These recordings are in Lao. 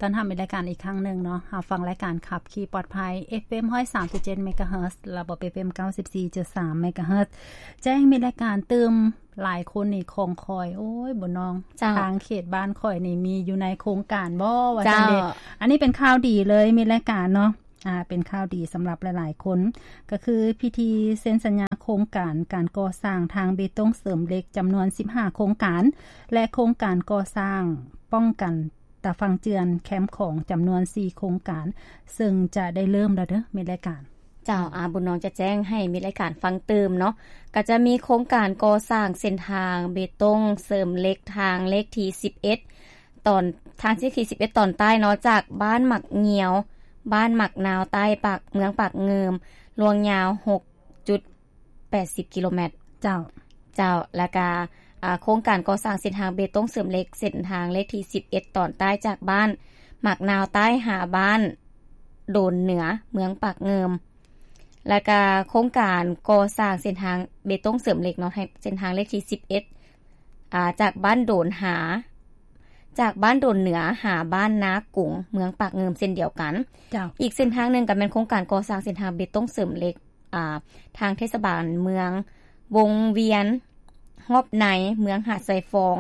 ຕ້ອນຮັບມິດລາຍການອີກຄັ້ງໜຶ່ງເນາະ. ຮັບຟັງລາຍການຂັບຂີ່ປອດໄພ ເອຟເອັມຮ້ອຍສາມຈຸດເຈັດເມກາເຮີດ ລະບົບ ເອຟເອັມເກົ້າສິບສີ່ຈຸດສາມເມກາເຮີດ ແຈ້ງມິດລາຍການຕື່ມ. ຫຼາຍຄົນນີ້ຂ້ອງຄອຍ ໂອ້ຍ ບຸນນອງ ເຈົ້າ ທາງເຂດບ້ານຂ້ອຍນີ້ມີຢູ່ໃນໂຄງການບໍ່ ວ່າຊັ້ນເດ. ເຈົ້າ ອັນນີ້ເປັນຂ່າວດີເລີຍ ມິດລາຍການເນາະ. ອ່າ ເປັນຂ່າວດີສຳລັບຫຼາຍໆຄົນ ກໍຄືພິທີເຊັນສັນຍາໂຄງການການກໍ່ສ້າງທາງເບຕົງເສີມເຫຼັກຈຳນວນສິບຫ້າໂຄງການ ແລະ ໂຄງການກໍ່ສ້າງປ້ອງກັນຕາຝັ່ງເຈື່ອນແຄມຂອງຈຳນວນສີ່ໂຄງການ ເຊິ່ງຈະໄດ້ເລີ່ມແລ້ວເດີ ມິດລາຍການ. ເຈົ້າ ອາ ບຸນນອງຈະແຈ້ງໃຫ້ມິດລາຍການຟັງຕື່ມເນາະ. ກໍຈະມີໂຄງການກໍ່ສ້າງເສັ້ນທາງເບຕົງເສີມເຫຼັກທາງເລກທີສິບເອັດ ຕອນ ທາງເລກທີສິບເອັດຕອນໃຕ້ເນາະ ຈາກບ້ານໝາກງຽວ ບ້ານໝາກນາວໃຕ້ ປາກ ເມືອງປາກງື່ມ ລວງຍາວຫົກຈຸດແປດສິບກິໂລແມັດ. ເຈົ້າ ເຈົ້າ ແລ້ວກະ ອາ ໂຄງການກໍ່ສ້າງເສັ້ນທາງເບຕົງເສີມເຫຼັກ ເສັ້ນທາງເລກທີສິບເອັດຕອນໃຕ້ ຈາກບ້ານໝາກນາວໃຕ້ຫາບ້ານໂດນເໜືອ ເມືອງປາກງື່ມ. ແລ້ວກະໂຄງການກໍ່ສ້າງເສັ້ນທາງເບຕົງເສີມເຫຼັກເນາະ ໃຫ້ເສັ້ນທາງເລກທີສິບເອັດ ອາ ຈາກບ້ານໂດນຫາ ຈາກບ້ານໂດນເໜືອຫາບ້ານນາກຸງ ເມືອງປາກງື່ມເຊັ່ນດຽວກັນ. ເຈົ້າ ອີກເສັ້ນທາງໜຶ່ງກໍແມ່ນໂຄງການກໍ່ສ້າງເສັ້ນທາງເບຕົງເສີມເຫຼັກ ອາ ທາງເທດສະບານເມືອງວົງວຽນຮອບໃນ ເມືອງຫາດຊາຍຟອງ.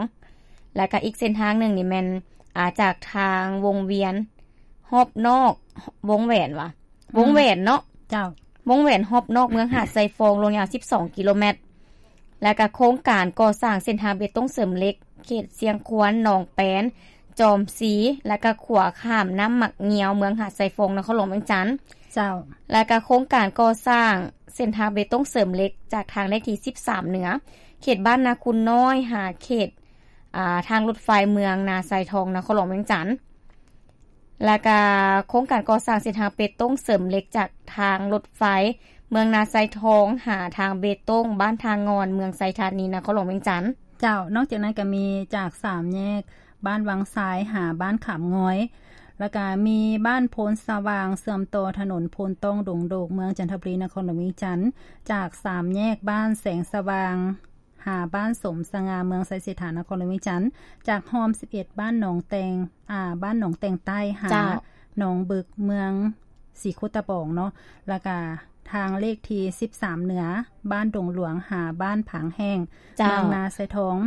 ແລ້ວກໍອີກເສັ້ນທາງໜຶ່ງນີ້ແມ່ນ ອາ ຈາກທາງວົງວຽນຮອບນອກ ວົງແຫວນຫວາ ອືມ ວົງແຫວນເນາະ. ເຈົ້າ ວົງແຫວນຮອບນອກເມືອງຫາດຊາຍຟອງ ລວງຍາວສິບສອງກິໂລແມັດ. ແລ້ວກະໂຄງການກໍ່ສ້າງເສັ້ນທາງເບຕົງເສີມເຫຼັກ ເຂດຊຽງຄວນ ໜອງແປນ ຈອມຊີ ແລ້ວກະຂົວຂ້າມນ້ຳໝາກງຽວ ເມືອງຫາດຊາຍຟອງ ນະຄອນຫຼວງວຽງຈັນ. ເຈົ້າ ແລ້ວກະໂຄງການກໍ່ສ້າງເສັ້ນທາງເບຕົງເສີມເຫຼັກ ຈາກທາງເລກທີສິບສາມເໜືອ ເຂດບ້ານນາຄູນນ້ອຍ ຫາເຂດ ອາ ທາງລົດໄຟເມືອງນາຊາຍທອງ ນະຄອນຫຼວງວຽງຈັນ. ແລ້ວກະໂຄງການກໍ່ສ້າງເສັ້ນທາງເບຕົງເສີມເຫຼັກ ຈາກທາງລົດໄຟເມືອງນາຊາຍທອງ ຫາທາງເບຕົງບ້ານທ່າງ່ອນ ເມືອງໄຊທານີ ນະຄອນຫຼວງວຽງຈັນ. ເຈົ້າ ນອກຈາກນັ້ນກໍມີຈາກສາມແຍກບ້ານວັງຊາຍ ຫາບ້ານຂາມງອຍ ແລ້ວກະມີບ້ານໂພນສະຫວ່າງ ເຊື່ອມຕໍ່ຖະໜົນໂພນຕ້ອງ ດົງໂດກ ເມືອງຈັນທະບູລີ ນະຄອນຫຼວງວຽງຈັນ, ຈາກສາມແຍກບ້ານແສງສະຫວ່າງ ຫາບ້ານສົມສະຫງ່າ ເມືອງໄຊເສດຖາ ນະຄອນຫຼວງວຽງຈັນ, ຈາກຮ່ອມສິບເອັດ ບ້ານໜອງແຕ່ງ ອາ ບ້ານໜອງແຕ່ງໃຕ້ ຫາ ເຈົ້າ ໜອງບຶກ ເມືອງສີໂຄດຕະບອງເນາະ, ແລ້ວກະທາງເລກທີສິບສາມເໜືອ ບ້ານດົງຫຼວງ ຫາບ້ານຜາງແຫ້ງ ເຈົ້າ ເມືອງນາຊາຍທອງ,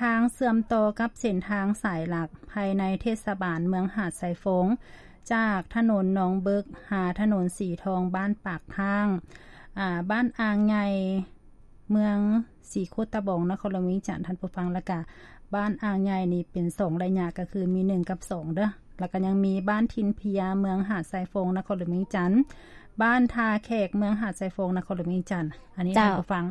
ທາງເຊື່ອມຕໍ່ກັບເສັ້ນທາງສາຍຫຼັກພາຍໃນເທດສະບານເມືອງຫາດຊາຍຟອງ ຈາກຖະໜົນໜອງບຶກ ຫາຖະໜົນສີທອງ ບ້ານປາກຄ້າງ ອາ ບ້ານອ່າງໃຫຍ່ ເມືອງສີໂຄດຕະບອງ ນະຄອນຫຼວງວຽງຈັນ ທ່ານຜູ້ຟັງ. ແລ້ວກະບ້ານອ່າງໃຫຍ່ນີ້ເປັນສອງໄລຍະ ກໍຄືມີໜຶ່ງກັບສອງເດີ້. ແລ້ວກະຍັງມີບ້ານຖິ່ນເພຍ ເມືອງຫາດຊາຍຟອງ ນະຄອນຫຼວງວຽງຈັນ, ບ້ານທ່າແຂກ ເມືອງຫາດຊາຍຟອງ ນະຄອນຫຼວງວຽງຈັນ. ອັນນີ້ ເຈົ້າ ທ່ານຜູ້ຟັງ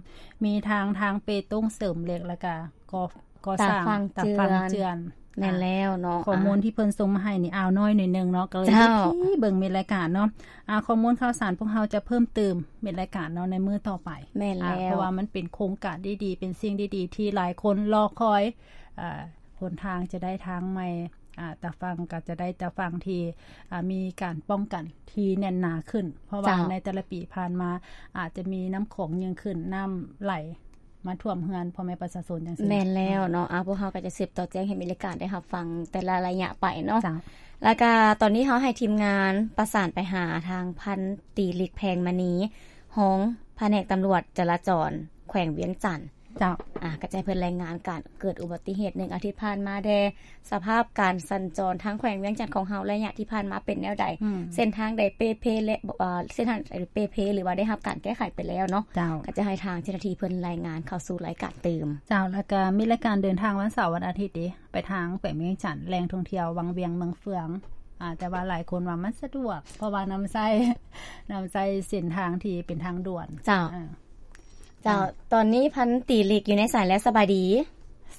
ມີທາງ ທາງເບຕົງເສີມເຫຼັກ ແລ້ວກະ ກໍ່ ກໍ່ສ້າງຕາຝັ່ງເຈື່ອນ. ແມ່ນແລ້ວເນາະ. ຂໍ້ມູນທີ່ເພິ່ນສົ່ງມາໃຫ້ນີ້ ອ່າວນ້ອຍໜ້ອຍໜຶ່ງເນາະ, ກໍເລີຍໄດ້ ເຈົ້າ ໄປເບິ່ງເມັດລາຍການເນາະ. ອາ ຂໍ້ມູນຂ່າວສານພວກເຮົາຈະເພີ່ມຕື່ມເມັດລາຍການເນາະ ໃນມື້ຕໍ່ໄປ. ແມ່ນແລ້ວ. ອາ ເພາະວ່າມັນເປັນໂຄງການດີໆ ເປັນສິ່ງດີໆ ທີ່ຫຼາຍຄົນລໍຄອຍ. ອາ ຫົນທາງຈະໄດ້ທາງໃໝ່, ອາ ຕາຝັ່ງກໍຈະໄດ້ຕາຝັ່ງທີ່ ອາ ມີການປ້ອງກັນທີ່ແໜ້ນໜາຂຶ້ນ, ເພາະວ່າ ເຈົ້າ ໃນແຕ່ລະປີຜ່ານມາ ອາດຈະມີນ້ຳຂອງຍິ່ງຂຶ້ນ, ນ້ຳໄຫຼ ມາຖ້ວມເຮືອນພໍ່ແມ່ປະຊາຊົນຈັ່ງຊີ້. ແມ່ນແລ້ວເນາະ. ອາ ພວກເຮົາກໍຈະສືບຕໍ່ແຈ້ງໃຫ້ເມັດລາຍການໄດ້ຮັບຟັງແຕ່ລະໄລຍະໄປເນາະ. ເຈົ້າ. ແລ້ວກໍຕອນນີ້ເຮົາໃຫ້ທີມງານປະສານໄປຫາທາງພັນຕີ ລິກ ແພງມະນີ ຮອງພະແນກຕຳຫຼວດຈະລາຈອນແຂວງວຽງຈັນ. ເຈົ້າ. ອາ ກໍຈະໃຫ້ເພິ່ນລາຍງານການເກີດອຸບັດຕິເຫດໜຶ່ງອາທິດຜ່ານມາແດ່. ສະພາບການສັນຈອນທາງແຂວງວຽງຈັນຂອງເຮົາໄລຍະທີ່ຜ່ານມາເປັນແນວໃດ? ອືມ. ເສັ້ນທາງໃດເປ່ເພ ແລະ ເອີ ເສັ້ນທາງໃດເປ່ເພ ຫຼືວ່າໄດ້ຮັບການແກ້ໄຂໄປແລ້ວເນາະ? ເຈົ້າ. ກໍຈະໃຫ້ທາງເຈົ້າໜ້າທີ່ເພິ່ນລາຍງານເຂົ້າສູ່ລາຍການຕື່ມ. ເຈົ້າ. ແລ້ວກໍມີລາຍການເດີນທາງວັນເສົາວັນອາທິດເດ ໄປທາງແຂວງວຽງຈັນ ແຫຼ່ງທ່ອງທ່ຽວວັງວຽງເມືອງເຟືອງ. ອາ ແຕ່ວ່າຫຼາຍຄົນວ່າມັນສະດວກ ເພາະວ່ານຳໃຊ້ ນຳໃຊ້ເສັ້ນທາງທີ່ເປັນທາງດ່ວນ. ເຈົ້າ. ເອີ. ເຈົ້າ. ເຈົ້າ. ຕອນນີ້ພັນຕີ ລິກ ຢູ່ໃນສາຍແລ້ວ. ສະບາຍດີ.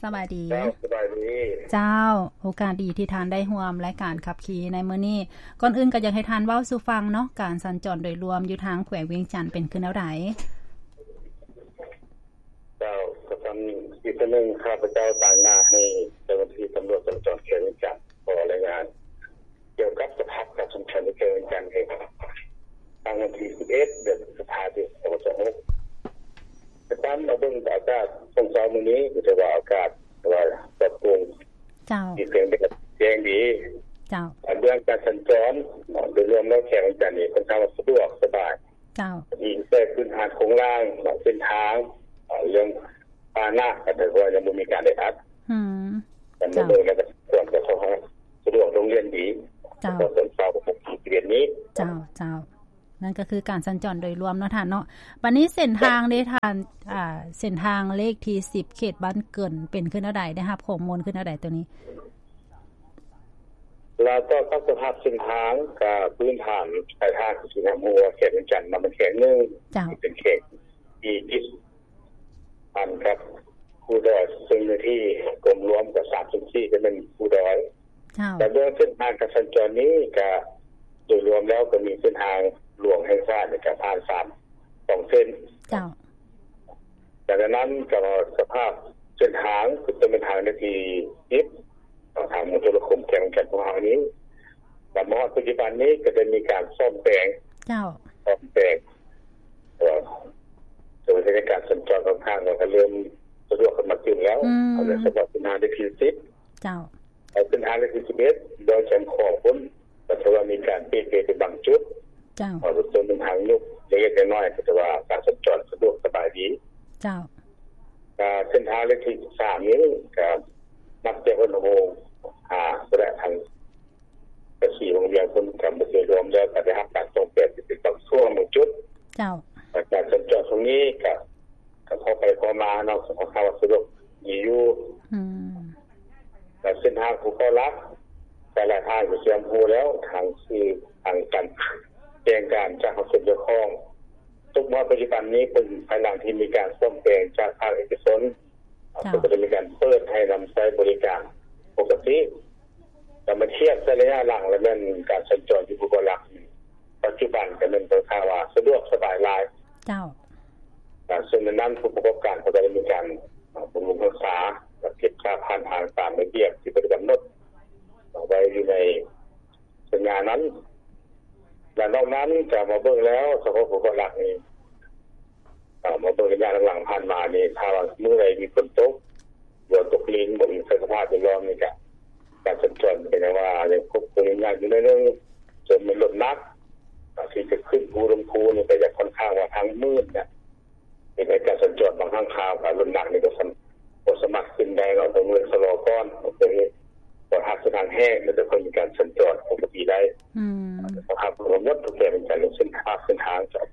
ສະບາຍດີ. ເຈົ້າ ສະບາຍດີ. ເຈົ້າ. ໂອກາດດີທີ່ທ່ານໄດ້ຮ່ວມລາຍການຂັບຂີ່ໃນມື້ນີ້. ກ່ອນອື່ນກໍຢາກໃຫ້ທ່ານເວົ້າສູ່ຟັງເນາະ, ການສັນຈອນໂດຍລວມຢູ່ທາງແຂວງວຽງຈັນເປັນຄືແນວໃດ? ເຈົ້າ. ກໍຕອນນີ້ ອີກຄົນໜຶ່ງ ຂ້າພະເຈົ້າຕາງໜ້າໃຫ້ເຈົ້າໜ້າທີ່ຕຳຫຼວດຈະລາຈອນແຂວງວຽງຈັນ ຂໍລາຍງານ ກ່ຽວກັບສະພາບການສັນຈອນໃນແຂວງວຽງຈັນ ໃນວັນທີສິບເອັດ ເດືອນພຶດສະພາ ປີສອງພັນຊາວຫົກ. ແຕ່ຕາມມາເບິ່ງອາກາດຊ່ວງເຊົ້າມື້ນີ້ ກໍຖືວ່າອາກາດຖືວ່າປອດໂປ່ງ. ເຈົ້າ. ມີແສງແດດແຈ້ງດີ. ເຈົ້າ ເລື່ອງການສັນຈອນເນາະ ໂດຍລວມແລ້ວແຂວງວຽງຈັນນີ້ຄ່ອນຂ້າງວ່າສະດວກສະບາຍ ເຈົ້າ ມີແຕ່ພື້ນຖານໂຄງລ່າງເນາະ ເສັ້ນທາງ ເລື່ອງພາຫະນະ ກໍຖືວ່າຍັງບໍ່ມີການແອອັດ ອືມ ການເດີນທາງ ເຈົ້າ ກໍສະດວກ ໂຮງຮຽນດີ ເຈົ້າ ກໍເປັນເປົ້າຂອງໂຮງຮຽນນີ້ ເຈົ້າ ເຈົ້າ ນັ້ນກໍຄືການສັນຈອນໂດຍລວມເນາະທ່ານເນາະ. ບັດນີ້ເສັ້ນທາງເດ້ທ່ານ ອ່າ ເສັ້ນທາງເລກທີສິບ ເຂດບ້ານເກີນ ເປັນຄືແນວໃດ? ໄດ້ຮັບຂໍ້ມູນຄືແນວໃດໂຕນີ້? ແລ້ວກໍກັບສະພາບເສັ້ນທາງ ກະພື້ນຖານປາຍທາງ ຄືຊິຮັບຮູ້ວ່າແຂວງວຽງຈັນເນາະ ເປັນແຂວງໜຶ່ງ ເຈົ້າ ທີ່ເປັນແຂວງທີ່ຕິດ ອັນກັບພູດອຍ ເຊິ່ງເນື້ອທີ່ລວມໆກໍສາມສ່ວນສີ່ຈະແມ່ນພູດອຍ. ເຈົ້າ ແລະ ເບື້ອງເສັ້ນທາງການສັນຈອນນີ້ກະໂດຍລວມແລ້ວກໍມີເສັ້ນທາງຫຼວງແຫ່ງຊາດນີ້ກະຜ່ານສາມ ສອງເສັ້ນ. ເຈົ້າ ແລະ ດັ່ງນັ້ນກໍສະພາບເສັ້ນທາງຄືເປັນເສັ້ນທາງເລກທີສິບ ທາງມົນໂທລະຄົມແຂວງວຽງຈັນຂອງເຮົານີ້ ແລະ ມາຮອດປັດຈຸບັນນີ້ກໍໄດ້ມີການສ້ອມແປງ ເຈົ້າ ສ້ອມແປງ ເອີ ໂດຍໃນການສັນຈອນຂ້ອນຂ້າງວ່າກໍເລີ່ມສະດວກຂຶ້ນມາຕື່ມແລ້ວ ອືມ ສຳລັບເສັ້ນທາງເລກທີສິບ ເຈົ້າ ແລະ ເສັ້ນທາງເລກທີສິບເອັດ ດອຍແຈມຂອງພຸ້ນ ກໍຖືວ່າມີການເປ່ເພເປັນບາງຈຸດ ເຈົ້າ ເອີ ເປັນຕົ້ນເປັນທາງຍຸບເລັກໆນ້ອຍໆ ກໍຖືວ່າການສັນຈອນສະດວກສະບາຍດີ ເຈົ້າ ກະເສັ້ນທາງເລກທີສິບສາມນີ້ກະນັບແຕ່ຫົວໂຮງຫາ ແລະ ທາງ ກະສີວົງວຽງພຸ້ນ ກະບໍ່ເຄີຍລວມແລ້ວ ກະໄດ້ຮັບການສ້ອມແປງເປັນບາງຊ່ວງບາງຈຸດ ເຈົ້າ ແລະ ການສັນຈອນຊ່ວງນີ້ກະ ກະພໍໄປພໍມາເນາະ ສະພາບສະດວກດີຢູ່ ອືມ ແລະ ເສັ້ນທາງພູເກົ້າຫຼັກ ແຕ່ລະທ່ານກໍຊິຮູ້ແລ້ວ ທາງຊື່ທາງການແຈ້ງການຈາກພາກສ່ວນກ່ຽວຂ້ອງ ຕົກມາປັດຈຸບັນນີ້ເປັນພາຍຫຼັງທີ່ມີການສ້ອມແປງຈາກພາກເອກະຊົນ ເຈົ້າ ເພິ່ນກໍໄດ້ມີການເປີດໃຫ້ນຳໃຊ້ບໍລິການປົກກະຕິ ແລ້ວມາທຽບໃສ່ໄລຍະຫຼັງ ແລ້ວແມ່ນການສັນຈອນຢູ່ພູເກົ້າຫຼັກ ປັດຈຸບັນກໍແມ່ນຄ່ອນຂ້າງວ່າສະດວກສະບາຍຫຼາຍ ເຈົ້າ ເຊິ່ງໃນນັ້ນຜູ້ປະກອບການເຂົາກໍໄດ້ມີການບຳລຸງຮັກສາ ແລະ ເກັບຄ່າຜ່ານທາງຕາມລະບຽບທີ່ເພິ່ນກຳນົດໄວ້ຢູ່ໃນສັນຍານັ້ນ ແລະ ນອກນັ້ນກໍມາເບິ່ງແລ້ວ ສະເພາະພູເກົ້າຫຼັກນີ້ ເອີ ມາເບິ່ງໄລຍະຫຼັງໆຜ່ານມານີ້ ຖ້າວ່າມື້ໃດມີຝົນຕົກ ຫຼືຕົກລິນ ບໍ່ມີສະພາບແວດລ້ອມນີ້ກະ ການສັນຈອນກໍຍັງວ່າຍັງຄົບຄົນຍາກຢູ່ໜ້ອຍໜຶ່ງ ຈົນມີລົດໜັກ ອາ ທີ່ຈະຂຶ້ນພູລົງພູນີ້ກໍຈະຄ່ອນຂ້າງວ່າທາງມືດນະ ເຮັດໃຫ້ການສັນຈອນບາງຄັ້ງຄາວກັບລົດໜັກນີ້ກໍສຳ ບໍ່ສາມາດຂຶ້ນໄດ້ເນາະ ຕ້ອງເລີຍຊະລໍກ່ອນ ເພື່ອເຮັດ ເພາະຫາກເສັ້ນທາງແຫ້ງ ແລ້ວຈະຄ່ອຍມີການສັນຈອນປົກກະຕິໄດ້ ອືມ ສະພາບທັງໝົດ ທຸກແຂວງວຽງຈັນ ເລື່ອງເສັ້ນທາງ ເສັ້ນທາງ ເຈົ້າ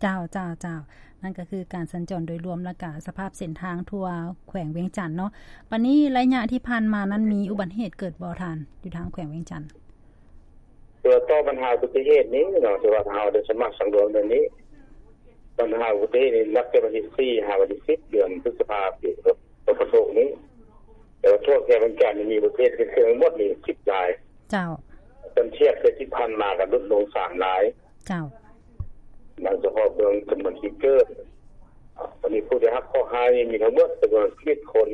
ເຈົ້າ ເຈົ້າ ນັ້ນກໍຄືການສັນຈອນໂດຍລວມ ແລ້ວກະສະພາບເສັ້ນທາງທົ່ວແຂວງວຽງຈັນເນາະ. ບັດນີ້ໄລຍະທີ່ຜ່ານມານັ້ນມີອຸບັດເຫດເກີດບໍ່ທ່ານ ຢູ່ທາງແຂວງວຽງຈັນ? ຕົວະຕໍ່ບັນຫາອຸບັດຕິເຫດນີ້ເນາະ ຖືວ່າເຮົາໄດ້ສາມາດສັງລວມເລື່ອງນີ້ ບັນຫາອຸບັດຕິເຫດນີ້ນັບແຕ່ວັນທີສີ່ຫາວັນທີສິບ ເດືອນພຶດສະພາ ປີສອງພັນຊາວຫົກນີ້ ແຕ່ວ່າທົ່ວແຂວງວຽງຈັນນີ້ມີອຸບັດຕິເຫດເກີດຂຶ້ນທັງໝົດນີ້ສິບລາຍ ເຈົ້າ ຄັນທຽບໃສ່ທີ່ຜ່ານມາກໍຫຼຸດລົງສາມລາຍ ເຈົ້າ ນັ້ນສະເພາະເບິ່ງຈຳນວນທີ່ເກີດ ອາ ຕອນນີ້ຜູ້ໄດ້ຮັບເຄາະຮ້າຍນີ້ມີທັງໝົດຈຳນວນສິບເອັດຄົນ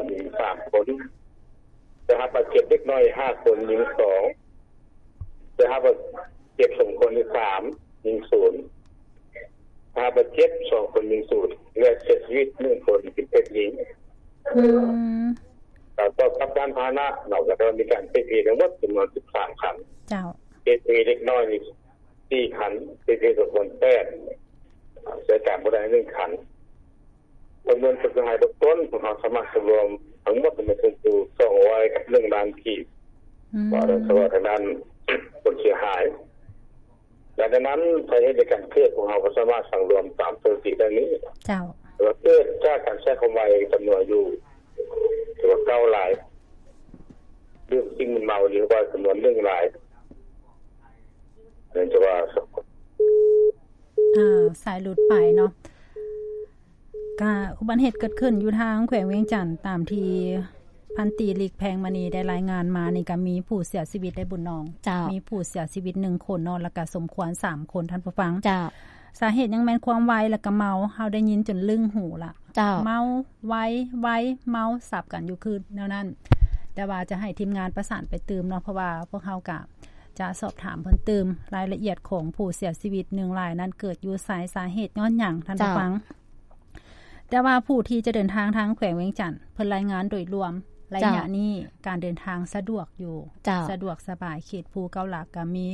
ມີສາມຄົນ ໄດ້ຮັບບາດເຈັບເລັກນ້ອຍຫ້າຄົນ ຍິງສອງ ໄດ້ຮັບບາດເຈັບສົມຄວນນີ້ສາມ ຍິງສູນ ໄດ້ຮັບບາດເຈັບສອງຄົນ ຍິງສູນ ແລະ ເສຍຊີວິດໜຶ່ງຄົນ ເປັນເພດຍິງ ອືມ ແລ້ວກໍກັບຍານພາຫະນະເນາະ ກໍໄດ້ມີການເພເພທັງໝົດຈຳນວນສິບສາມຄັນ ເຈົ້າ ເພເພເລັກນ້ອຍນີ້ ສີ່ຄັນ ເພເພສົມຄວນແປດ ໃຊ້ການບໍ່ໄດ້ໜຶ່ງຄັນ ປະເມີນຄວາມເສຍຫາຍເບື້ອງຕົ້ນ ພວກເຮົາສາມາດສຳລວມທັງໝົດແມ່ນເຖິງຢູ່ສອງຮ້ອຍກັບໜຶ່ງລ້ານກີບ ອືມ ວ່າສະເພາະທາງດ້ານຄວາມເສຍຫາຍ ແລະ ດັ່ງນັ້ນ ສາເຫດໃນການເກີດ ພວກເຮົາກໍສາມາດສັງລວມຕາມສະຖິຕິດັ່ງນີ້ ເຈົ້າ ວ່າເກີດຈາກການໃຊ້ຄວາມໄວຈຳນວນຢູ່ ຖືວ່າເກົ້າລາຍ ດື່ມສິ່ງມຶນເມົານີ້ວ່າຈຳນວນໜຶ່ງລາຍ ອັນນີ້ຖືວ່າ ອ່າ ສາຍຫຼຸດໄປເນາະ ກະອຸບັດເຫດເກີດຂຶ້ນຢູ່ທາງແຂວງວຽງຈັນ ຕາມທີ່ພັນຕີ ຫຼີກແພງມະນີ ໄດ້ລາຍງານມານີ້ ກະມີຜູ້ເສຍຊີວິດໄດ້ ບຸນນອງ ເຈົ້າ ມີຜູ້ເສຍຊີວິດໜຶ່ງຄົນເນາະ ແລ້ວກະສົມຄວນສາມຄົນ ທ່ານຜູ້ຟັງ ເຈົ້າ ສາເຫດຍັງແມ່ນຄວາມໄວ ແລ້ວກະເມົາ ເຮົາໄດ້ຍິນຈົນລຶ້ງຫູລະ ເຈົ້າ ເມົາ ໄວ ໄວ ເມົາ ສັບກັນຢູ່ຄືແນວນັ້ນ ແຕ່ວ່າຈະໃຫ້ທີມງານປະສານໄປຕື່ມເນາະ ເພາະວ່າພວກເຮົາກະຈະສອບຖາມເພີ່ມຕື່ມ ລາຍລະອຽດຂອງຜູ້ເສຍຊີວິດໜຶ່ງລາຍນັ້ນ ເກີດຢູ່ໃສ ສາເຫດຍ້ອນຫຍັງ ທ່ານຜູ້ຟັງ ເຈົ້າ ແຕ່ວ່າຜູ້ທີ່ຈະເດີນທາງທາງແຂວງວຽງຈັນ ເພິ່ນລາຍງານໂດຍລວມ ໄລຍະນີ້ ເຈົ້າ ການເດີນທາງສະດວກຢູ່ ເຈົ້າ ສະດວກສະບາຍ ເຂດພູເກົ້າຫຼັກກໍມີ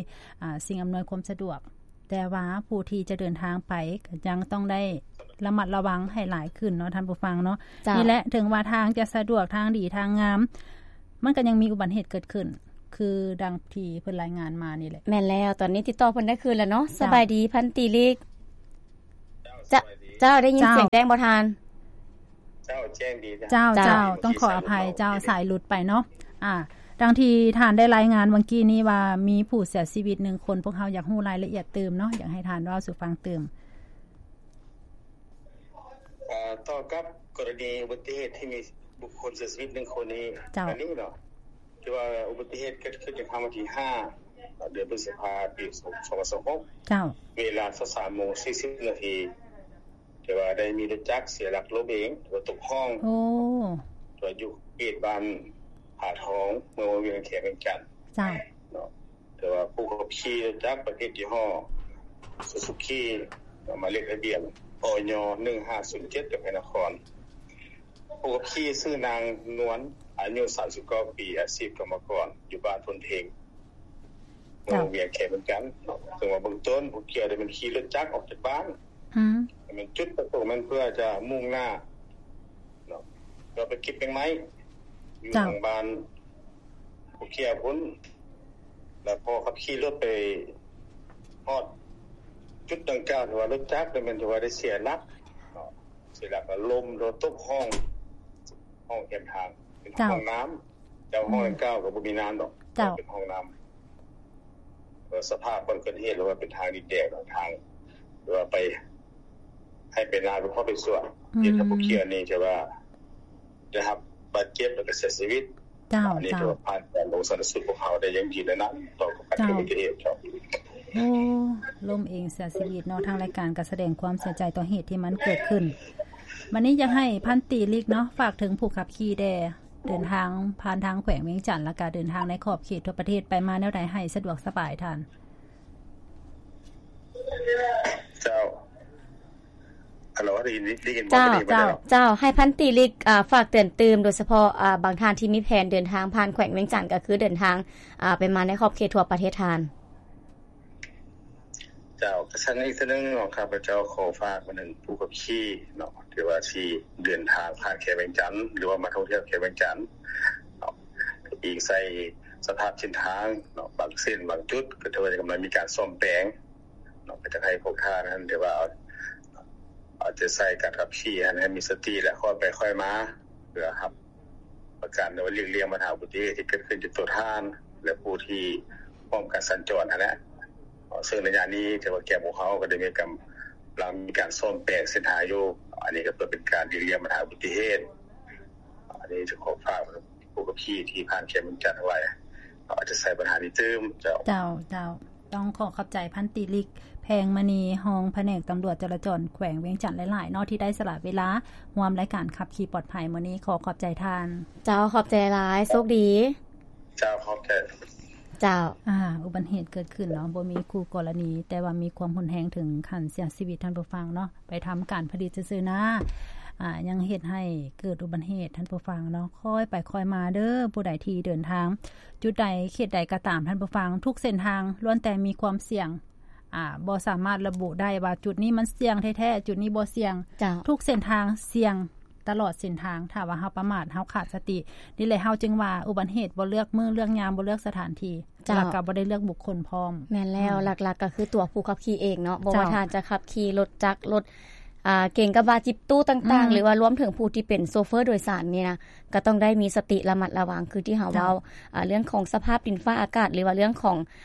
ອ່າ ສິ່ງອຳນວຍຄວາມສະດວກ ແຕ່ວ່າຜູ້ທີ່ຈະເດີນທາງໄປກໍຍັງຕ້ອງໄດ້ລະມັດລະວັງໃຫ້ຫຼາຍຂຶ້ນເນາະ ທ່ານຜູ້ຟັງເນາະ. ເຈົ້າ ນີ້ແຫຼະ ເຖິງວ່າທາງຈະສະດວກ ທາງດີ ທາງງາມ ມັນກໍຍັງມີອຸບັດເຫດເກີດຂຶ້ນ ຄືດັ່ງທີ່ເພິ່ນລາຍງານມານີ້ແຫຼະ. ແມ່ນແລ້ວ ຕອນນີ້ຕິດຕໍ່ເພິ່ນໄດ້ຄືນແລ້ວເນາະ. ເຈົ້າ ສະບາຍດີ ພັນຕີລິກ. ເຈົ້າ ເຈົ້າ ສະບາຍດີ ເຈົ້າ ໄດ້ຍິນ ເຈົ້າ ສຽງແຈ້ງບໍ່ທ່ານ? ເຈົ້າ ແຈ້ງດີ ເຈົ້າ ເຈົ້າ ເຈົ້າ ຕ້ອງຂໍອະໄພ ເຈົ້າ ສາຍຫຼຸດໄປເນາະ. ອ່າ ດັ່ງທີ່ທ່ານໄດ້ລາຍງານຫວ່າງກີ້ນີ້ວ່າ ມີຜູ້ເສຍຊີວິດໜຶ່ງຄົນ ພວກເຮົາຢາກຮູ້ລາຍລະອຽດຕື່ມເນາະ ຢາກໃຫ້ທ່ານເວົ້າສູ່ຟັງຕື່ມ. ເອີ່ ຕໍ່ກັບກໍລະນີອຸບັດຕິເຫດທີ່ມີບຸກຄົນເສຍຊີວິດໜຶ່ງຄົນນີ້ ເຈົ້າ ອັນນີ້ເນາະ ທີ່ວ່າອຸບັດຕິເຫດເກີດຂຶ້ນໃນຄ່ຳວັນທີຫ້າ ເດືອນພຶດສະພາ ປີສອງພັນຊາວຫົກ ເຈົ້າ ເວລາຊາວສາມໂມງສີ່ສິບນາທີ ທີ່ວ່າໄດ້ມີລົດຈັກເສຍຫຼັກລົ້ມເອງ ຕົກຮ່ອງ ໂອ້ ທີ່ວ່າຢູ່ເຂດບ້ານຜາທອງ ເມືອງວຽງ ແຂວງວຽງຈັນ ເຈົ້າ ເນາະ. ແຕ່ວ່າຜູ້ຂັບຂີ່ລົດຈັກປະເພດຍີ່ຫໍ້ Suzuki ເນາະ ໝາຍເລກທະບຽນ ອຍ ໜຶ່ງຫ້າສູນເຈັດ ຈຳໄພນະຄອນ. ຜູ້ຂັບຂີ່ຊື່ນາງນວນ ອາຍຸສາມສິບເກົ້າປີ ອາຊີບກຳມະກອນ ຢູ່ບ້ານໂພນເພັງ ເມືອງວຽງ ແຂວງວຽງຈັນເນາະ. ເຊິ່ງວ່າເບື້ອງຕົ້ນຜູ້ກ່ຽວໄດ້ແມ່ນຂີ່ລົດຈັກອອກຈາກບ້ານ ອືມ ແມ່ນຈຸດປະສົງແມ່ນເພື່ອຈະມຸ່ງໜ້າເນາະ ເພື່ອໄປເກັບແມງໄມ້ ຢູ່ ເຈົ້າ ທາງບ້ານຜູ້ກ່ຽວພຸ້ນ ແລ້ວພໍຂັບຂີ່ລົດໄປຮອດຈຸດດັ່ງກ່າວ ຖືວ່າລົດຈັກນີ້ແມ່ນຖືວ່າໄດ້ເສຍຫຼັກເນາະ ເສຍຫຼັກແລ້ວລົ້ມ ແລ້ວຕົກຮ່ອງ ຮ່ອງແຄມທາງ ເປັນ ເຈົ້າ ຮ່ອງນ້ຳ ແຕ່ວ່າ ອືມ ຫ້ອງດັ່ງກ່າວກໍບໍ່ມີນ້ຳດອກ ເຈົ້າ ເປັນຫ້ອງນ້ຳ ເອີ່ ສະພາບບ່ອນເກີດເຫດ ຫຼືວ່າເປັນທາງດິນແດງເນາະ ທາງ ຫຼືວ່າໄປ ໃຫ້ໄປນາ ຫຼືເຂົ້າໄປສວນ ອືມ ເຮັດໃຫ້ຜູ້ກ່ຽວນີ້ ຖືວ່າໄດ້ຮັບບາດເຈັບ ແລ້ວກໍເສຍຊີວິດ. ເຈົ້າ ອັນນີ້ ເຈົ້າ ຖືວ່າຜ່ານການລົງຊັນນະສູດພວກເຮົາໄດ້ຢ່າງດີແລ້ວນະ ຕໍ່ກັບການເກີດອຸບັດຕິເຫດ. ເຈົ້າ ເຈົ້າ ໂອ້ ລົ້ມເອງເສຍຊີວິດເນາະ. ທາງລາຍການກໍສະແດງຄວາມເສຍໃຈຕໍ່ເຫດທີ່ມັນເກີດຂຶ້ນ. ບັດນີ້ຢາກໃຫ້ພັນຕີລິກເນາະ ຝາກເຖິງຜູ້ຂັບຂີ່ແດ່ ເດີນທາງຜ່ານທາງແຂວງວຽງຈັນ ແລ້ວກະເດີນທາງໃນຂອບເຂດທົ່ວປະເທດ ໄປມາແນວໃດໃຫ້ສະດວກສະບາຍທ່ານ? ເຈົ້າ ຮັລໂຫຼ ໄດ້ຍິນ ໄດ້ຍິນບໍ່? ເຈົ້າ ໄດ້ຍິນບໍ່? ເຈົ້າ ເຈົ້າ ໃຫ້ພັນຕີລິກ ອ່າ ຝາກເຕືອນຕື່ມ ໂດຍສະເພາະ ອ່າ ບາງທ່ານທີ່ມີແຜນເດີນທາງຜ່ານແຂວງວຽງຈັນ ກໍຄືເດີນທາງ ອ່າ ໄປມາໃນຂອບເຂດທົ່ວປະເທດທ່ານ. ເຈົ້າ ກະຊັ້ນອີກເທື່ອໜຶ່ງເນາະ ຂ້າພະເຈົ້າຂໍຝາກມາເຖິງຜູ້ຂັບຂີ່ເນາະ ທີ່ວ່າຊິເດີນທາງຜ່ານແຂວງວຽງຈັນ ຫຼືວ່າມາທ່ອງທ່ຽວແຂວງວຽງຈັນເນາະ ອີງໃສ່ສະພາບເສັ້ນທາງເນາະ ບາງເສັ້ນບາງຈຸດກໍຖືວ່າກຳລັງມີການສ້ອມແປງເນາະ ກໍຢາກໃຫ້ພວກທ່ານຫັ້ນ ຖືວ່າເອົາ ເອົາໃຈໃສ່ການຂັບຂີ່ຫັ້ນ ໃຫ້ມີສະຕິ ແລະ ຄ່ອຍໄປຄ່ອຍມາ ເພື່ອຮັບປະກັນ ຫຼືວ່າຫຼີກລ່ຽງບັນຫາອຸບັດຕິເຫດທີ່ເກີດຂຶ້ນກັບຕົວທ່ານ ແລະ ຜູ້ທີ່ຮ່ວມການສັນຈອນຫັ້ນແຫຼະ. ເຊິ່ງໄລຍະນີ້ຖືວ່າແກງພວກເຮົາກໍໄດ້ມີກຳລັງມີການສ້ອມແປງເສັ້ນທາງຢູ່ ອັນນີ້ກໍເພື່ອເປັນການຫຼີກລ່ຽງບັນຫາອຸບັດຕິເຫດ. ອັນນີ້ຈະຂໍຝາກຜູ້ຂັບຂີ່ທີ່ຜ່ານແຂວງວຽງຈັນທັງຫຼາຍ ເອົາໃຈໃສ່ບັນຫານີ້ຕື່ມ. ເຈົ້າ ເຈົ້າ ເຈົ້າ. ຕ້ອງຂໍຂອບໃຈພັນຕີລິກ ແພງມະນີ ຮອງພະແນກຕຳຫຼວດຈະລາຈອນແຂວງວຽງຈັນຫຼາຍໆເນາະ ທີ່ໄດ້ສະຫຼະເວລາຮ່ວມລາຍການຂັບຂີ່ປອດໄພມື້ນີ້. ຂໍຂອບໃຈທ່ານ. ເຈົ້າ ຂອບໃຈຫຼາຍ ໂຊກດີ. ເຈົ້າ ຂອບໃຈ. ເຈົ້າ ອ່າ ອຸບັດເຫດເກີດຂຶ້ນເນາະ ບໍ່ມີຄູ່ກໍລະນີ ແຕ່ວ່າມີຄວາມຮຸນແຮງເຖິງຂັ້ນເສຍຊີວິດ ທ່ານຜູ້ຟັງເນາະ. ໄປທຳການຜະລິດຊື່ໆນາ ອ່າ ຍັງເຮັດໃຫ້ເກີດອຸບັດເຫດ ທ່ານຜູ້ຟັງເນາະ. ຄ່ອຍໄປຄ່ອຍມາເດີ ຜູ້ໃດທີ່ເດີນທາງຈຸດໃດເຂດໃດກໍຕາມ ທ່ານຜູ້ຟັງ ທຸກເສັ້ນທາງລ້ວນແຕ່ມີຄວາມສ່ຽງ. ອ່າ ບໍ່ສາມາດລະບຸໄດ້ວ່າຈຸດນີ້ມັນສ່ຽງແທ້ໆ ຈຸດນີ້ບໍ່ສ່ຽງ. ເຈົ້າ ທຸກເສັ້ນທາງສ່ຽງຕະຫຼອດເສັ້ນທາງ ຖ້າວ່າເຮົາປະໝາດ ເຮົາຂາດສະຕິ. ນີ້ແຫຼະ ເຮົາຈຶ່ງວ່າອຸບັດເຫດບໍ່ເລືອກມື້ເລືອກຍາມ ບໍ່ເລືອກສະຖານທີ່. ເຈົ້າ ແລ້ວກໍບໍ່ໄດ້ເລືອກບຸກຄົນພ້ອມ. ແມ່ນແລ້ວ ອືມ ຫຼັກໆກໍຄືຕົວຜູ້ຂັບຂີ່ເອງເນາະ ບໍ່ວ່າ ເຈົ້າ ທ່ານຈະຂັບຂີ່ລົດຈັກ ລົດ ອ່າ ເກັງກະບະຈິບຕູ້ຕ່າງໆ ອືມ ຫຼືວ່າລວມເຖິງຜູ້ທີ່ເປັນໂຊເຟີໂດຍສານນີ້ນະ ກໍຕ້ອງໄດ້ມີສະຕິລະມັດລະວັງ ຄືທີ່ເຮົາ ເຈົ້າ ເວົ້າ ອ່າ ເລື່ອງຂອງສະພາບດິນຟ້າອາກາດ ຫຼືວ່າເລື່ອງຂອງ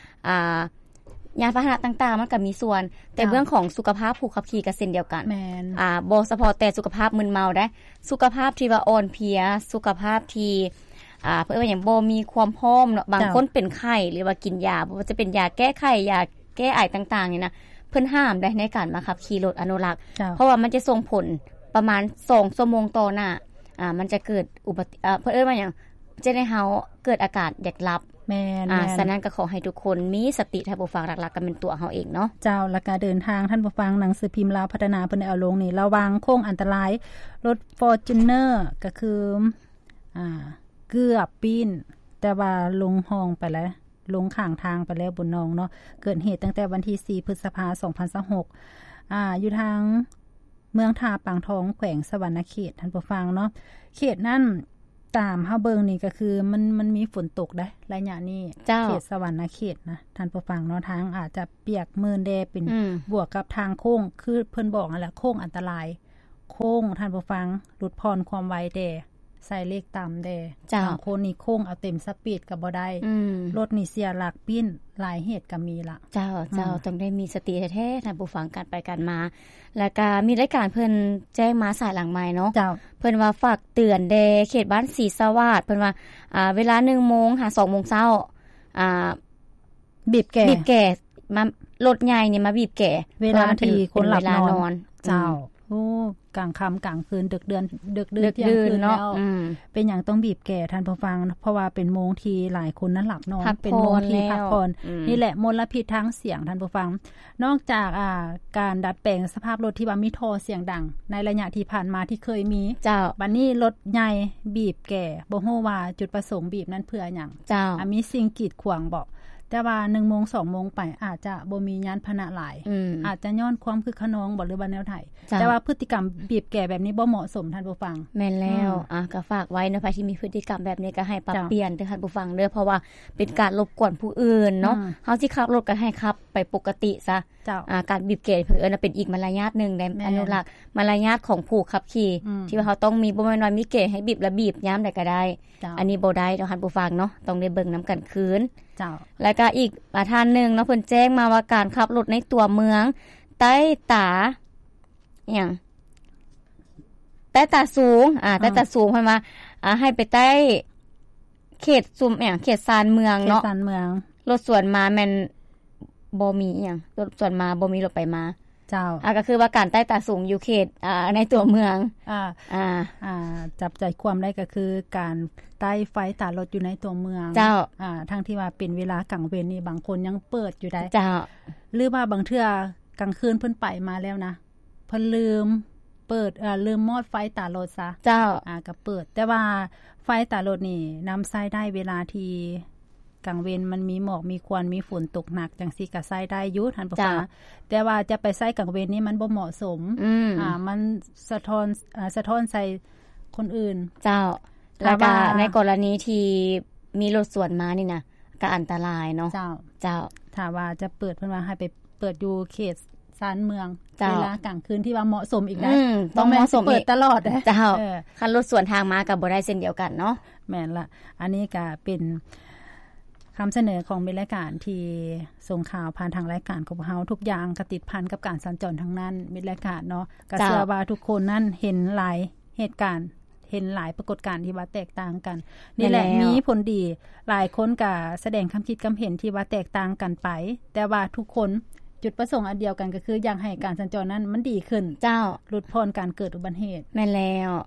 ອ່າ ຍານພາຫະນະຕ່າງໆ ມັນກໍມີສ່ວນ ແຕ່ ເຈົ້າ ເລື່ອງຂອງສຸຂະພາບຜູ້ຂັບຂີ່ກໍເຊັ່ນດຽວກັນ. ແມ່ນ ອ່າ ບໍ່ສະເພາະແຕ່ສຸຂະພາບມຶນເມົາເດ້ ສຸຂະພາບທີ່ວ່າອ່ອນເພຍ ສຸຂະພາບທີ່ ອ່າ ເພິ່ນວ່າຫຍັງ ບໍ່ມີຄວາມພ້ອມເນາະ. ບາງ ເຈົ້າ ຄົນເປັນໄຂ້ ຫຼືວ່າກິນຢາ ບໍ່ວ່າຈະເປັນຢາແກ້ໄຂ້ ຢາແກ້ໄອຕ່າງໆນີ້ນະ ເພິ່ນຫ້າມໄດ້ໃນການມາຂັບຂີ່ລົດອະນຸລັກ ເຈົ້າ ເພາະວ່າມັນຈະສົ່ງຜົນປະມານສອງຊົ່ວໂມງຕໍ່ໜ້າ ອ່າ ມັນຈະເກີດອຸບັດຕິ ເອີ ເພິ່ນເອີ້ນວ່າຫຍັງ ຈະໄດ້ເຮົາເກີດອາການຢາກຫຼັບ. ແມ່ນ ອ່າ ແມ່ນ ສະນັ້ນກໍຂໍໃຫ້ທຸກຄົນມີສະຕິ ທ່ານຜູ້ຟັງ ຫຼັກໆກໍແມ່ນຕົວເຮົາເອງເນາະ. ເຈົ້າ ແລ້ວກໍເດີນທາງ ທ່ານຜູ້ຟັງ ໜັງສືພິມລາວພັດທະນາເພິ່ນໄດ້ເອົາລົງນີ້ ລະຫວ່າງໂຄ້ງອັນຕະລາຍ ລົດຟໍຈູນເນີ ກໍຄື ອ່າ ເກືອບປີ້ນ ແຕ່ວ່າລົງຮ່ອງໄປແລ້ວ ລົງຂ້າງທາງໄປແລ້ວ ບຸນນອງເນາະ. ເກີດເຫດຕັ້ງແຕ່ວັນທີສີ່ ພຶດສະພາ ສອງພັນຊາວຫົກ ອາ ຢູ່ທາງເມືອງທ່າປາງທອງ ແຂວງສະຫວັນນະເຂດ ທ່ານຜູ້ຟັງເນາະ. ເຂດນັ້ນ ຕາມເຮົາເບິ່ງນີ້ກໍຄືມັນ ມັນມີຝົນຕົກເດ້ ໄລຍະນີ້ ເຈົ້າ ເຂດສະຫວັນນະເຂດນະ ທ່ານຜູ້ຟັງເນາະ. ທາງອາດຈະປຽກມື່ນແດ່ ເປັນ ອືມ ບວກກັບທາງໂຄ້ງ ຄືເພິ່ນບອກຫັ້ນແຫຼະ ໂຄ້ງອັນຕະລາຍ ໂຄ້ງ ທ່ານຜູ້ຟັງ ຫຼຸດຜ່ອນຄວາມໄວແດ່ ໃສ່ເລກຕ່ຳແດ່ ເຈົ້າ ບາງຄົນນີ້ໂຄ້ງເອົາເຕັມສະປີດກໍບໍ່ໄດ້ ອືມ ລົດນີ້ເສຍຫຼັກປີ້ນ ຫຼາຍເຫດກໍມີລະ. ເຈົ້າ ເຈົ້າ ອືມ ຕ້ອງໄດ້ມີສະຕິແທ້ໆ ທ່ານຜູ້ຟັງ ການໄປການມາ. ແລ້ວກະມີລາຍການເພິ່ນແຈ້ງມາສາຍຫຼັງໄມເນາະ ເຈົ້າ ເພິ່ນວ່າຝາກເຕືອນແດ່ເຂດບ້ານສີສະຫວາດ ເພິ່ນວ່າ ອ່າ ເວລາໜຶ່ງໂມງຫາສອງໂມງເຊົ້າ ອ່າ ບີບແກ່ ບີບແກ່ ມາ ລົດໃຫຍ່ນີ້ມາບີບແກ່ ເວລາທີ່ຄົນຫຼັບນອນ ເວລານອນ ເຈົ້າ ອືມ ໂອ້ ກາງຄ່ຳກາງຄືນ ດຶກເດືອນ ດຶກດື່ນ ເທີ່ຍງຄືນແລ້ວ ອືມ ເປັນຫຍັງຕ້ອງບີບແກ່ ທ່ານຜູ້ຟັງ? ເພາະວ່າເປັນໂມງທີ່ຫຼາຍຄົນນັ້ນຫຼັບນອນ ພັກຜ່ອນ ເປັນໂມງທີ່ພັກຜ່ອນ ອືມ ນີ້ແຫຼະ ມົນລະພິດທາງສຽງ ທ່ານຜູ້ຟັງ. ນອກຈາກ ອ່າ ການດັດແປງສະພາບລົດທີ່ວ່າມີທໍ່ສຽງດັງ ໃນໄລຍະທີ່ຜ່ານມາທີ່ເຄີຍມີ ເຈົ້າ ບັດນີ້ລົດໃຫຍ່ບີບແກ່ ບໍ່ຮູ້ວ່າຈຸດປະສົງບີບນັ້ນເພື່ອຫຍັງ ເຈົ້າ ອາ ມີສິ່ງກີດຂວາງບໍ? ແຕ່ວ່າໜຶ່ງໂມງ ສອງໂມງໄປ ອາດຈະບໍ່ມີຍານພາຫະນະຫຼາຍ ອືມ ອາດຈະຍ້ອນຄວາມຄຶກຂະນອງບໍ ຫຼືວ່າແນວໃດ? ເຈົ້າ ແຕ່ວ່າພຶດຕິກຳບີບແກ່ແບບນີ້ບໍ່ເໝາະສົມ ທ່ານຜູ້ຟັງ. ແມ່ນແລ້ວ ອືມ ອາ ກໍຝາກໄວ້ເນາະ ໃຜທີ່ມີພຶດຕິກຳແບບນີ້ກໍໃຫ້ປັບ ເຈົ້າ ປ່ຽນເດີ ທ່ານຜູ້ຟັງເດີ ເພາະວ່າເປັນການລົບກວນຜູ້ອື່ນເນາະ ອືມ ເຮົາຊິຂັບລົດກໍໃຫ້ຂັບໄປປົກກະຕິຊະ ເຈົ້າ ອາ ການບີບແກ່ເພິ່ນເອີ້ນວ່າເປັນອີກມາລະຍາດໜຶ່ງໃດ໋ ແມ່ນ ອະນຸລັກມາລະຍາດຂອງຜູ້ຂັບຂີ່ ອືມ ທີ່ວ່າເຮົາຕ້ອງມີ ບໍ່ແມ່ນວ່າມີແກ່ໃຫ້ບີບລະບີບຍາມໃດກໍໄດ້ ເຈົ້າ ອັນນີ້ບໍ່ໄດ້ເນາະ ທ່ານຜູ້ຟັງເນາະ ຕ້ອງໄດ້ເບິ່ງນຳກັນຄືນ ເຈົ້າ ແລ້ວກໍອີກ ອາ ທ່ານໜຶ່ງເນາະ ເພິ່ນແຈ້ງມາວ່າການຂັບລົດໃນຕົວເມືອງ ໃຕ້ຕາ ອີຫຍັງ ໃຕ້ຕາສູງ ອາ ອືມ ໃຕ້ຕາສູງ ເພິ່ນວ່າ ອາ ໃຫ້ໄປໃຕ້ເຂດຊຸມ ອີຫຍັງ ເຂດຊານເມືອງເນາະ ເຂດຊານເມືອງ ລົດສວນມາແມ່ນບໍ່ມີ ອີຫຍັງ ລົດສວນມາບໍ່ມີລົດໄປມາ ເຈົ້າ ອາ ກໍຄືວ່າການໃຕ້ຕາສູງຢູ່ເຂດ ອາ ໃນຕົວເມືອງ ອາ ອາ ອາ ຈັບໃຈຄວາມໄດ້ກໍຄືການໃຕ້ໄຟຕາລົດຢູ່ໃນຕົວເມືອງ ເຈົ້າ ອາ ທັງທີ່ວ່າເປັນເວລາກາງເວັນນີ້ ບາງຄົນຍັງເປີດຢູ່ໄດ໋ ເຈົ້າ ຫຼືວ່າບາງເທື່ອກາງຄືນເພິ່ນໄປມາແລ້ວນະ ເພິ່ນລືມເປີດ ເອີ ລືມມອດໄຟຕາລົດຊະ ເຈົ້າ ອາ ກໍເປີດ ແຕ່ວ່າໄຟຕາລົດນີ້ນຳໃຊ້ໄດ້ເວລາທີ່ກາງເວັນມັນມີໝອກມີຄວັນ ມີຝົນຕົກໜັກຈັ່ງຊີ້ກໍໃຊ້ໄດ້ຢູ່ ທ່ານຜູ້ຟັງ ເຈົ້າ ແຕ່ວ່າຈະໄປໃຊ້ກາງເວັນນີ້ມັນບໍ່ເໝາະສົມ ອືມ ອາ ມັນສະທ້ອນ ອາ ສະທ້ອນໃສ່ຄົນອື່ນ ເຈົ້າ ຖ້າວ່າ ແລ້ວກໍໃນກໍລະນີທີ່ມີລົດສວນມານີ້ນະ ກໍອັນຕະລາຍເນາະ ເຈົ້າ ເຈົ້າ ຖ້າວ່າຈະເປີດ ເພິ່ນວ່າໃຫ້ໄປ ເປີດຢູ່ເຂດຊານເມືອງ ເຈົ້າ ເວລາກາງຄືນທີ່ວ່າເໝາະສົມອີກນະ ອືມ ຕ້ອງເໝາະສົມ ບໍ່ແມ່ນຊິເປີດຕະຫຼອດເດ້ ເຈົ້າ ເອີ ຄັນລົດສວນທາງມາກໍບໍ່ໄດ້ເຊັ່ນດຽວກັນເນາະ ແມ່ນລະ ອັນນີ້ກໍເປັນຄຳສະເໜີຂອງມິດລາຍການທີ່ສົ່ງຂ່າວຜ່ານທາງລາຍການຂອງພວກເຮົາ ທຸກຢ່າງກໍຕິດພັນກັບການສັນຈອນທັງນັ້ນ ມິດລາຍການເນາະ ກໍ ເຈົ້າ ເຊື່ອວ່າທຸກຄົນນັ້ນເຫັນຫຼາຍເຫດການ ເຫັນຫຼາຍປາກົດການທີ່ວ່າແຕກຕ່າງກັນ ນີ້ແຫຼະ ແມ່ນແລ້ວ ມີຜົນດີ ຫຼາຍຄົນກະສະແດງຄຳຄິດຄຳເຫັນທີ່ວ່າແຕກຕ່າງກັນໄປ ແຕ່ວ່າທຸກຄົນຈຸດປະສົງອັນດຽວກັນ ກໍຄືຢາກໃຫ້ການສັນຈອນນັ້ນມັນດີຂຶ້ນ ເຈົ້າ ຫຼຸດຜ່ອນການເກີດອຸບັດເຫດ ແມ່ນແລ້ວ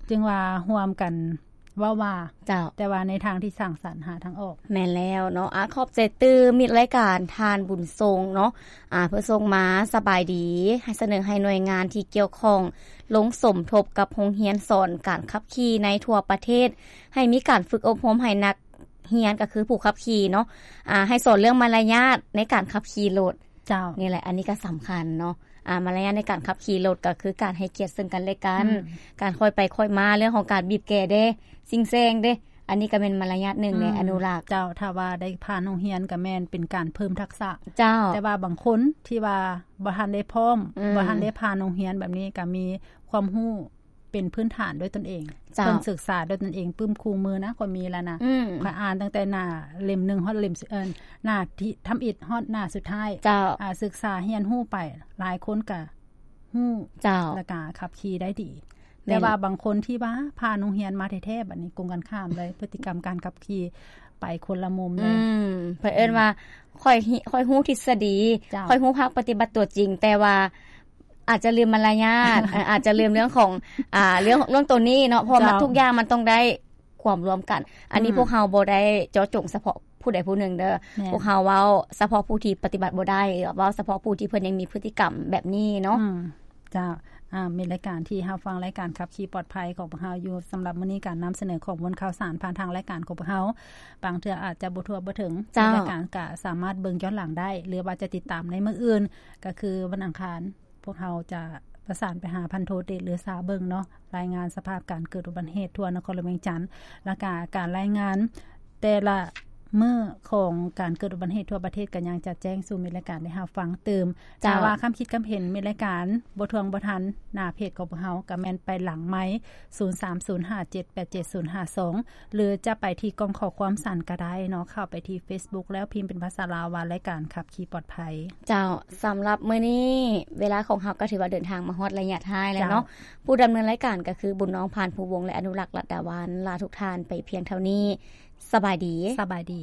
ຈຶ່ງວ່າຮ່ວມກັນເວົ້າວ່າ ເຈົ້າ ແຕ່ວ່າໃນທາງທີ່ສ້າງສັນຫາທາງອອກ ແມ່ນແລ້ວເນາະ ອາ ຂອບໃຈຕື່ມມິດລາຍການທ່ານບຸນຊົງເນາະ ອາ ເພິ່ນສົ່ງມາ ສະບາຍດີ ໃຫ້ສະເໜີໃຫ້ໜ່ວຍງານທີ່ກ່ຽວຂ້ອງ ລົງສົມທົບກັບໂຮງຮຽນສອນການຂັບຂີ່ໃນທົ່ວປະເທດ ໃຫ້ມີການຝຶກອົບຮົມໃຫ້ນັກຮຽນ ກໍຄືຜູ້ຂັບຂີ່ເນາະ ອາ ໃຫ້ສອນເລື່ອງມາລະຍາດໃນການຂັບຂີ່ລົດ ເຈົ້າ ນີ້ແຫຼະ ອັນນີ້ກໍສຳຄັນເນາະ ອາ ມາລະຍາດໃນການຂັບຂີ່ລົດ ກໍຄືການໃຫ້ກຽດເຊິ່ງກັນແລະກັນ ອືມ ການຄ່ອຍໄປຄ່ອຍມາ ເລື່ອງຂອງການບີບແກ່ເດ້ ຊິງແຊງເດ້ ອັນນີ້ກໍແມ່ນມາລະຍາດໜຶ່ງໃນ ອືມ ອະນຸລັກ ເຈົ້າ ຖ້າວ່າໄດ້ຜ່ານໂຮງຮຽນກໍແມ່ນເປັນການເພີ່ມທັກສະ ເຈົ້າ ແຕ່ວ່າບາງຄົນທີ່ວ່າ ບໍ່ທັນໄດ້ພ້ອມ ອືມ ບໍ່ທັນໄດ້ຜ່ານໂຮງຮຽນແບບນີ້ ກໍມີຄວາມຮູ້ເປັນພື້ນຖານດ້ວຍຕົນເອງ ເຈົ້າ ເພິ່ນສຶກສາດ້ວຍຕົນເອງ ປຶ້ມຄູ່ມືນະ ຂ້ອຍມີແລ້ວນະ ອືມ ຂ້ອຍອ່ານຕັ້ງແຕ່ໜ້າເຫຼັ້ມໜຶ່ງຮອດເຫຼັ້ມ ເອີ ໜ້າທີ່ທຳອິດຮອດໜ້າສຸດທ້າຍ ເຈົ້າ ອາ ສຶກສາຮຽນຮູ້ໄປ ຫຼາຍຄົນກໍຮູ້ ເຈົ້າ ແລ້ວກໍຂັບຂີ່ໄດ້ດີ ແມ່ນ ແຕ່ວ່າບາງຄົນທີ່ວ່າຜ່ານໂຮງຮຽນມາແທ້ໆ ບັດນີ້ກົງກັນຂ້າມເລີຍ ພຶດຕິກຳການຂັບຂີ່ໄປຄົນລະມຸມເລີຍ ອືມ ເພິ່ນເອີ້ນວ່າ ອືມ ຂ້ອຍ ຂ້ອຍຮູ້ທິດສະດີ ເຈົ້າ ຂ້ອຍຮູ້ພາກປະຕິບັດຕົວຈິງ ແຕ່ວ່າອາດຈະລືມມາລະຍາດ ເອີ ອາດຈະລືມເລື່ອງຂອງ ອ່າ ເລື່ອງ ເລື່ອງໂຕນີ້ເນາະ ເພາະວ່າ ເຈົ້າ ມັນທຸກຢ່າງມັນຕ້ອງໄດ້ຄວາມລວມກັນ ອັນນີ້ ອືມ ພວກເຮົາບໍ່ໄດ້ເຈາະຈົງສະເພາະຜູ້ໃດຜູ້ໜຶ່ງເດີ ແມ່ນ ພວກເຮົາເວົ້າສະເພາະຜູ້ທີ່ປະຕິບັດບໍ່ໄດ້ ເວົ້າສະເພາະຜູ້ທີ່ເພິ່ນຍັງມີພຶດຕິກຳແບບນີ້ເນາະ ອືມ ເຈົ້າ ອ່າ ແມ່ນລາຍການທີ່ຮັບຟັງລາຍການຂັບຂີ່ປອດໄພຂອງພວກເຮົາຢູ່. ສຳລັບມື້ນີ້ການນຳສະເໜີຂໍ້ມູນຂ່າວສານຜ່ານທາງລາຍການຂອງພວກເຮົາ ບາງເທື່ອອາດຈະບໍ່ທົ່ວບໍ່ເຖິງ, ເຈົ້າ ລາຍການກະສາມາດເບິ່ງຍ້ອນຫຼັງໄດ້ ຫຼືວ່າຈະຕິດຕາມໃນມື້ອື່ນ ກະຄືວັນອັງຄານ ພວກເຮົາຈະປະສານໄປຫາພັນໂທ ເດດ ເຫຼືອຊາ ເບິ່ງເນາະ ລາຍງານສະພາບການເກີດອຸບັດຕິເຫດທົ່ວນະຄອນຫຼວງວຽງຈັນ ແລ້ວກະການລາຍງານແຕ່ລະມື້ຂອງການເກີດອຸບັດຕິເຫດທົ່ວປະເທດ ກະຍັງຈະແຈ້ງສູ່ມິດລາຍການໄດ້ຮັບຟັງຕື່ມ. ເຈົ້າ ຖ້າວ່າຄຳຄິດຄຳເຫັນມິດລາຍການບໍ່ທ່ວງບໍ່ທັນ ໜ້າເພຈຂອງພວກເຮົາ ກະແມ່ນໄປຫຼັງໄມ ສູນສາມສູນຫ້າເຈັດແປດເຈັດສູນຫ້າສອງ ຫຼືຈະໄປທີ່ກ່ອງຂໍ້ຄວາມສັ້ນກະໄດ້ເນາະ ເຂົ້າໄປທີ່ເຟສບຸກ ແລ້ວພິມເປັນພາສາລາວວ່າ ລາຍການຂັບຂີ່ປອດໄພ. ເຈົ້າ ສຳລັບມື້ນີ້ເວລາຂອງເຮົາກະຖືວ່າເດີນທາງມາຮອດໄລຍະທ້າຍແລ້ວເນາະ. ເຈົ້າ ຜູ້ດຳເນີນລາຍການກະຄື ບຸນນ້ອງ ພານພູວົງ ແລະ ອະນຸລັກ ລັດດາວັນ ລາທຸກທ່ານໄປພຽງເທົ່ານີ້. ສະບາຍດີ. ສະບາຍດີ.